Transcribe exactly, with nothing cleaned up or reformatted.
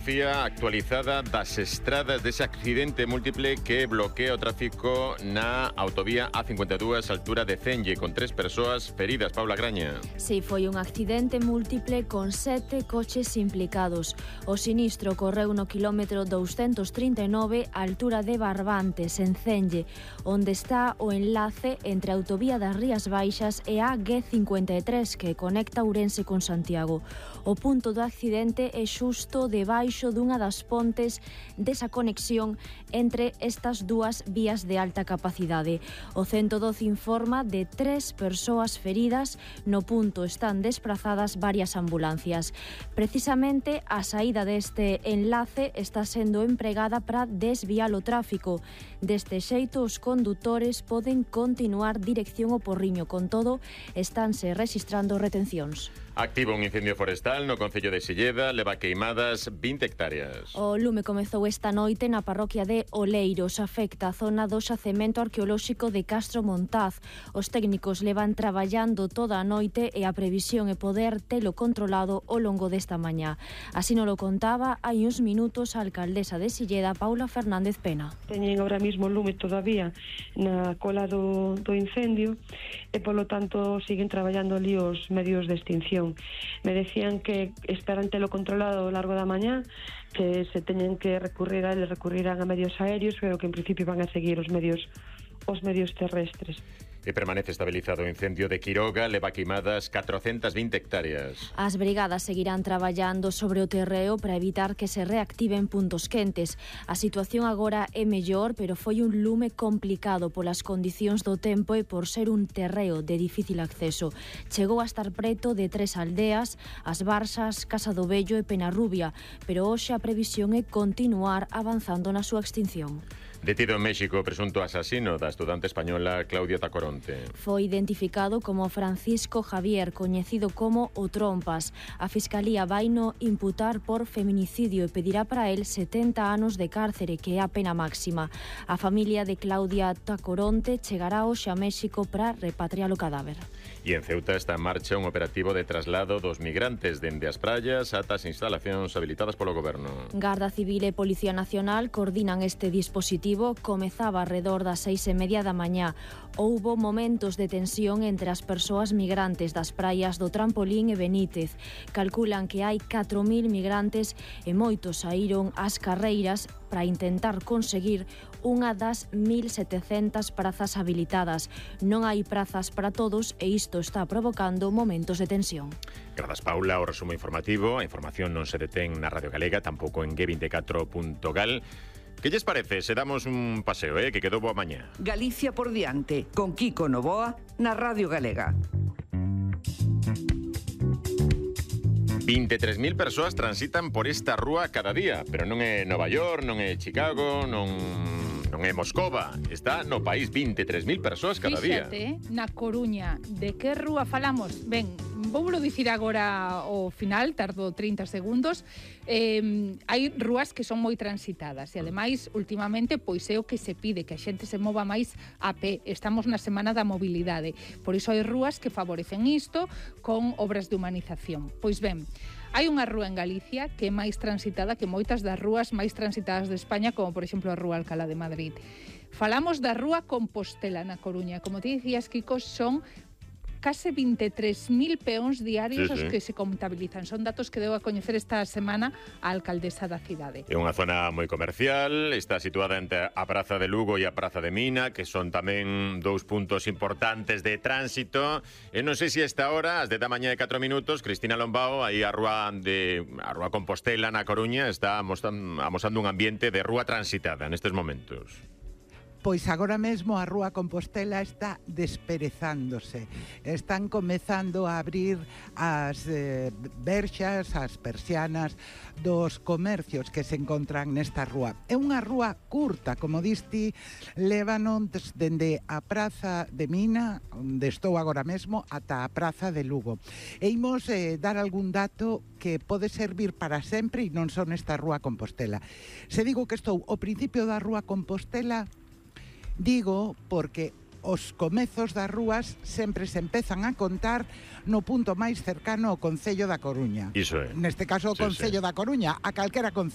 Fotografía actualizada das estradas dese accidente múltiple que bloquea o tráfico na autovía A cincuenta e dúas, altura de Cenlle, con tres persoas feridas. Paula Graña. Si, foi un accidente múltiple con sete coches implicados. O sinistro correu no quilómetro doscientos trinta e nove, altura de Barbantes, en Cenlle, onde está o enlace entre a autovía das Rías Baixas e a G cincuenta e tres, que conecta Ourense con Santiago. O punto do accidente é xusto debaixo dunha das pontes desa conexión entre estas dúas vías de alta capacidade. O ciento doce informa de tres persoas feridas. No punto están desprazadas varias ambulancias. Precisamente a saída deste enlace está sendo empregada para desviar o tráfico. Deste xeito, os condutores poden continuar dirección ao Porriño. Con todo, estánse rexistrando retencións. Activo un incendio forestal no concello de Silleda, leva queimadas vinte hectáreas. O lume comezou esta noite na parroquia de Oleiros, afecta a zona do xacemento arqueolóxico de Castro Montaz. Os técnicos levan traballando toda a noite e a previsión é poder telo controlado ao longo desta mañá. Así nos lo contaba hai uns minutos a alcaldesa de Silleda, Paula Fernández Pena. Teñen ahora mismo lume todavía na cola do, do incendio e, polo tanto, siguen traballando ali os medios de extinción. Me decían que esperan telo controlado ao largo da mañá, que se teñen que recurrir a eles, recurrirán a medios aéreos, pero que en principio van a seguir os medios os medios terrestres. E permanece estabilizado o incendio de Quiroga, leva queimadas catrocentas vinte hectáreas. As brigadas seguirán traballando sobre o terreo para evitar que se reactiven puntos quentes. A situación agora é mellor, pero foi un lume complicado polas condicións do tempo e por ser un terreo de difícil acceso. Chegou a estar preto de tres aldeas, As Barzas, Casa do Vello e Penarrubia, pero hoxe a previsión é continuar avanzando na súa extinción. Detido en México o presunto asasino da estudante española Claudia Tacoronte. Foi identificado como Francisco Javier, coñecido como o Trompas. A Fiscalía vaino imputar por feminicidio e pedirá para él setenta anos de cárcere, que é a pena máxima. A familia de Claudia Tacoronte chegará hoxe a México para repatriar o cadáver. E en Ceuta está en marcha un operativo de traslado dos migrantes dende as praias ata as instalacións habilitadas polo goberno. Garda Civil e Policía Nacional coordinan este dispositivo. Comezaba alrededor das seis e media da mañá. Houbo momentos de tensión entre as persoas migrantes das praias do Trampolín e Benítez. Calculan que hai catro mil migrantes e moitos saíron ás carreiras para intentar conseguir unha das mil setecentas prazas habilitadas. Non hai prazas para todos e isto está provocando momentos de tensión. Grazas, Paula, o resumo informativo. A información non se detén na Radio Galega, tampouco en G veinticuatro punto gal. Que lles parece se damos un paseo, eh, que quedou boa mañá? Galicia por diante, con Kiko Novoa, na Radio Galega. vinte e tres mil persoas transitan por esta rúa cada día, pero non é Nova York, non é Chicago, non... non é Moscova, está no país. Vinte e tres mil persoas cada día. Fíxate, na Coruña, de que rúa falamos? Ben, voulo dicir agora ao final, tardo trinta segundos. Eh, hai rúas que son moi transitadas e, ademais, últimamente, pois é o que se pide, que a xente se mova máis a pé. Estamos na Semana da Mobilidade. Por iso hai rúas que favorecen isto con obras de humanización. Pois ben, hai unha rúa en Galicia que é máis transitada que moitas das rúas máis transitadas de España, como, por exemplo, a Rúa Alcalá de Madrid. Falamos da Rúa Compostela na Coruña. Como te dicías, Kiko, son case vinte e tres mil peóns diarios sí, sí. os que se contabilizan. Son datos que deu a coñecer esta semana a alcaldesa da cidade. É unha zona moi comercial, está situada entre a Praza de Lugo e a Praza de Mina, que son tamén dous puntos importantes de tránsito. E non sei se esta hora, as dez da mañá e catro minutos, Cristina Lombao, aí a Rúa de a Rúa Compostela na Coruña, está amosando, amosando un ambiente de rúa transitada nestes momentos. Pois agora mesmo a Rúa Compostela está desperezándose. Están comezando a abrir as eh, verxas, as persianas dos comercios que se encontran nesta rúa. É unha rúa curta, como diste, lévanos dende a Praza de Mina, onde estou agora mesmo, ata a Praza de Lugo. E imos eh, dar algún dato que pode servir para sempre e non son esta Rúa Compostela. Se digo que estou ao principio da Rúa Compostela, digo porque os comezos das rúas sempre se empezan a contar no punto máis cercano ao Concello da Coruña. Iso é. Neste caso o Sí, Concello sí. da Coruña, a calquera concello.